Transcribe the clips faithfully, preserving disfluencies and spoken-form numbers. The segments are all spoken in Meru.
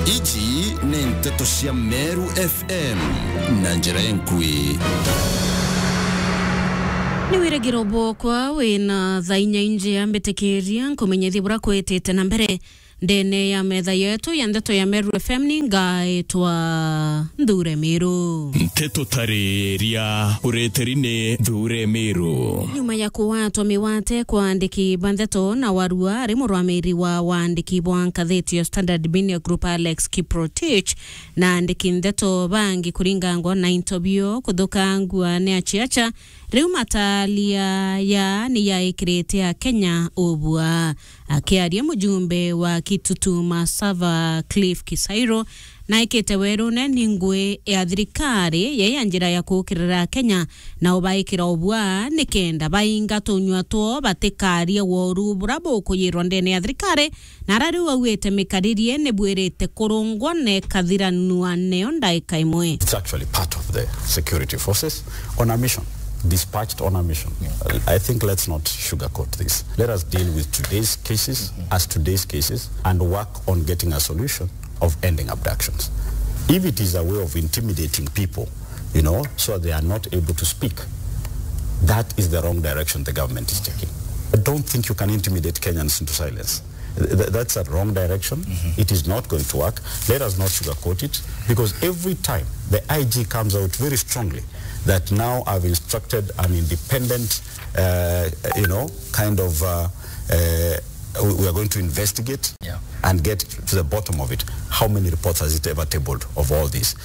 Iji ni nteto cia Meru F M na njira enkui. Ni wiragiro bwokwa wina thaa inya injia mbitikiria nkumenyithie bura kwitite na mbere ndene ya metha yetu ya ndeto ya Meru F M. Ni ngaitwa Nthure Miru. Nteto tariria ureteri ni Nthure Miru. Nyuma ya kuwatwa miwate kwa andiki ba ndeto na warua ari murwamiri wa waandiki bwa nkathiti ya Standard Media Group Alex Kiprotich na andiki ndeto bangi kuringangwa na into bio kuthukangua ni aciaca, riu matalia ya ni yaikirite Akenya ubua. Akiaria mujumbe wa Kitutu Masava Cliff Kisairo, naikite werune ni ngui ya thirikari ya ya njira ya kukirira Kenya na ubaikira ubua nikenda bainga tunyua two batikarie woru bura bukuyirwa ndene ya thirikari, na ara riu augite mikaririe ni bwirite kurungwa na ikathiranua neo ndaika imwe. It's actually part of the security forces on a mission, dispatched on a mission. I think let's not sugarcoat this. Let us deal with today's cases as today's cases and work on getting a solution of ending abductions. If it is a way of intimidating people, you know, so they are not able to speak, that is the wrong direction the government is taking. I don't think you can intimidate Kenyans into silence. Th-, th-, that's a wrong direction. It is not going to work. Let us not sugarcoat it, because every time the I G comes out very strongly that now I've instructed an independent, uh, you know, kind of, uh, uh, we we are going to investigate and get to the bottom of it. How many reports has it ever tabled of all this?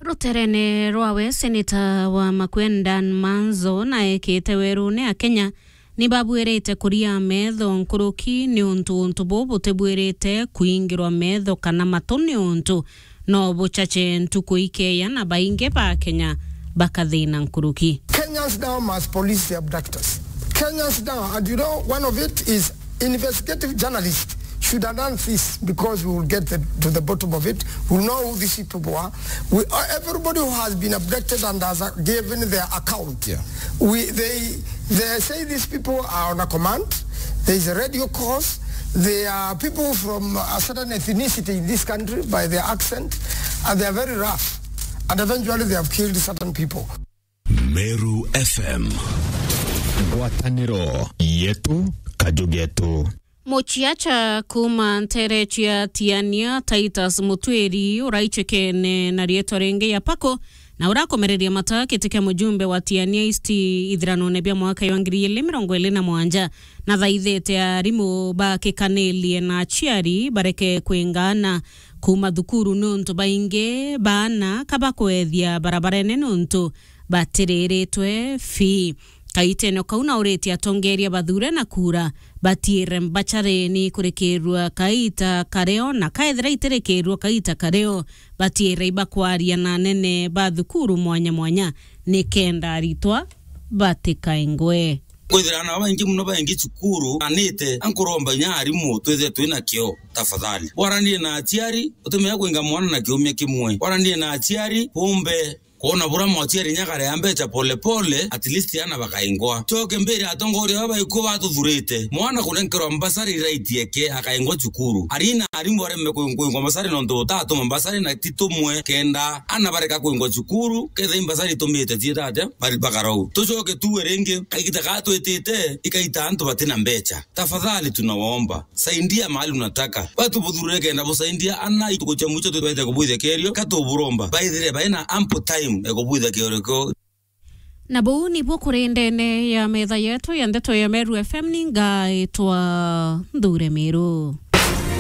Ruterene rwawe, seneta wa Makueni Dan Manzo naekite werune Akenya ni babwirite kuria metho nkuruki niuntu untu buu butibwirite kuingirwa metho kana matu niuntu no buchache ntuku ikeya na baingi ba Kenya bakathina nkuruki. Kenyans now must police the abductors. Kenyans now, and you know, one of it is investigative journalists should announce this, because we will get the, to the bottom of it. We'll know who these people are. We, uh, everybody who has been abducted and has, uh, given their account, we, they, they say these people are on a command. There is a radio course. They are people from a certain ethnicity in this country by their accent, and they are very rough. And eventually they have killed certain people. Meru F M. Ngwataniro yetu, kaju getu. Muciaca kuuma ntere cia Tiania, Titus Mutwiri, uraichekene na rietwa ringi ya Pako, na urakomereria mata kiti kia mujumbe wa Tiania East ithiranone bia mwaka wa ngiri igiri mirongo iri na mwanja, na thaithite arimu bakikanirie na aciari bareke kwingana kuuma thukuru, niuntu baingi baana kabakwethia barabarene niuntu batiriritwe fee. Kaitene kau nauritie atongeria bathure na kura batiire mbacari ni kurikirua kaita kareo, na kaethira itirikirua kaita kareo, batiire ibakwaria na anene ba thukuru mwanya mwanya, nikenda aritwa batikaingwe. Kwithira ana babaingi muno baingi cukuru anite, ankuromba inya arimu twithire twina kio, tafadhali. Bwaranie na aciari, utimenya kuinga mwana na kiumia kimwe. Bwaranie na aciari, bumbe kwona bura mwaciari nyagare ya mbecha pole pole, at least ana bakaingwa. Choke mbere atongoria baba ikuo batuthurite. Mwana kunenkerwa mbasari right yeke akaingwa cukuru. Arina arimu areme kuing-, kuingwa mbasari nontu utatuma mbasari na ti tumwe kenda ana bareka kuingwa cukuru, ketha imbasari itumite ciita atia, bari bakarau. Tucoke tuwe ringi, kaigita gaa twitite, ikaita antu batina mbecha. Tafadhali tunawaomba, saidia mahali unataka. Batu buthurire kenda busaidia ana itukucha mwicho twete kubwithia kerio, katuburomba. Baithire baina ample time ya kubwithia kerio kio. Na buu nibuo kuri ndene ya metha yetu ya ndeto ya Meru F M, ni ngaitwa Nthure Miru.